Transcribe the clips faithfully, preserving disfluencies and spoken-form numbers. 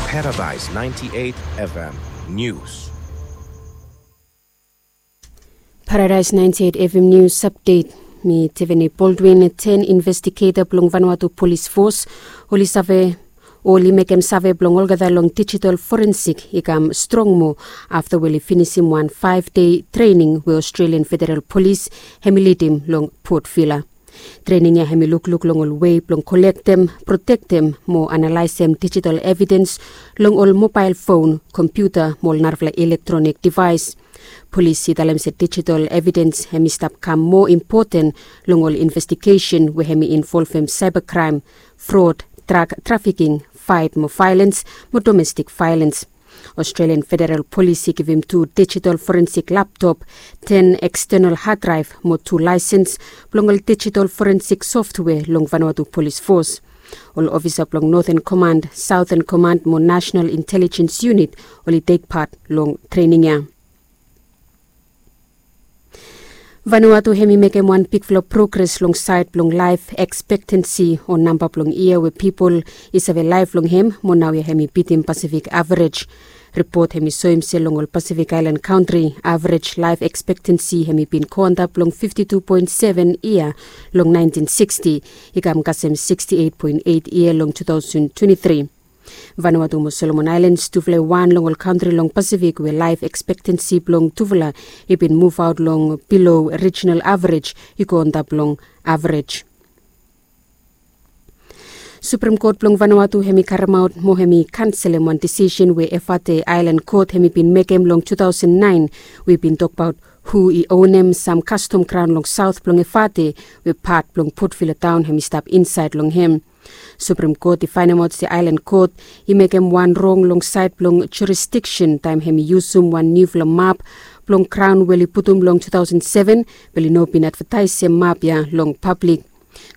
Paradise ninety-eight F M News. Paradise ninety-eight F M News Update. Mi Tiffany Baldwin. Ten investigeta blong Vanuatu Polis Fos oli save, oli mekem save blong olgeta long digital forensic i kam strong moa afta we oli finisim wan five day trening we Australian Federal Polis hem i lidim long Port Vila. Trening ya hem i lukluk long ol wei blong kolektem, protektem mo analaesem digital evidens long ol mobael fon, kompiuta mo ol narafala elektronik devaes. Polis i talem se digital evidens hem i stap kam moa impoten long ol investigesen we hem i involvem cybercrime, fraud, drug trafficking, faet mo vaelens mo domestik vaelens. Australian Federal Polis i givim tu digital forensic laptop, ten external hard drive mo tu laesens blong ol digital forensic software long Vanuatu Polis Fos. Ol ofisa blong Northern Command, Southern Command mo National Intelligence Unit oli tek pat long trening ya. Vanuatu hem i mekem wan bigfala progres long saed blong laef ekspektensi o namba blong yia we pipol i save laef long hem, mo naoia hem i bitim Pasifik averej. Ripot hem i soem se long ol Pasifik aelan kantri, averej laef ekspektensi hem i bin go antap long fifti tu poen seven yia long naentin siksti, i kam kasem siksti eit poen eit yia long tu taosen twenti tri. Vanuatu mo Solomon Aelens, tufala i wan long ol kantri long Pasifik we laef ekspektensi blong tufala i bin muvaot long bilo rijinal averej i go antap long averej. Suprem Kot blong Vanuatu hem i karemaot mo hem i kanselem wan disisen we Efate Aelan Kot hem i bin mekem long tu taosen naen, we i bin tokbaot hu i onem sam kastom graon long saot blong Efate, we pat blong Port Vila taon hem i stap insaed long hem. Suprem Kot i faenemaot se Aelan Kot i mekem wan rong long saed blong jurisdiksen taem hem i yusum wan niufala map blong graon we oli putum long tu taosen seven, be oli no bin advataesem map ya long pablik.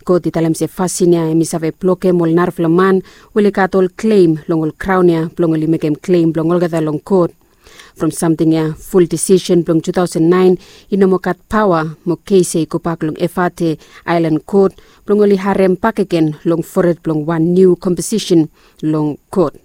Kot i talem se fasin ya hem i save blokem ol narafala man we oli gat ol klem long ol graon ya blong oli mekem klem blong olgeta long kot. From samting ya, ful disisen blong tu taosen naen i no moa gat paoa mo kes ya i gobak long Efate Aelan Kot blong oli harem bakegen long fored blong wan niu komposisen long kot.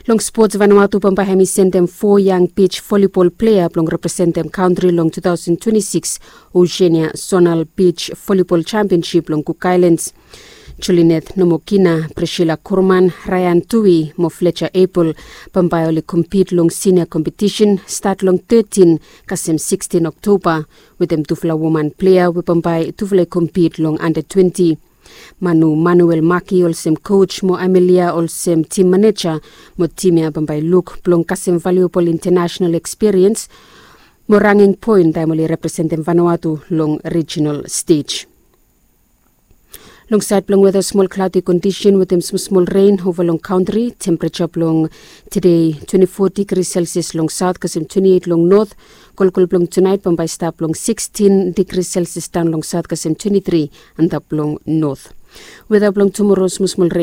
Long spots, Vanuatu bambae hem i sendem fo yang bij volibol plea blong representem kantri long tu taosen twenti sikis Oceania Zonal Bij Volibol Championship long Cook Islands. Julineth Nomokina, Priscilla Kurman, Ryan Tui mo Fletcher Apel bambae oli kompit long sinia kompetisen stat long tetin kasem sikstin Oktoba, wetem tufala woman plea we bambae tufala i kompit long anda twenti. Manu Manuel Maki olsem koj mo Amelia olsem tim maneja, mo tim ya bambae i luk blong kasem valiuabol intanasenal ekspiriens mo ranging poen taem oli representem Vanuatu long rijinal stej. Long saed blong weta, smol klaodi kondisen wetem smosmol ren ova long kantri. Tempereja blong tede twenti fo digri selsias long saot kasem twenti eit long not. Kolkol blong tunaet bambae stap long sikstin digri selsias daon long saot kasem twenti tri antap long not. Weta blong tumoro, smosmol ren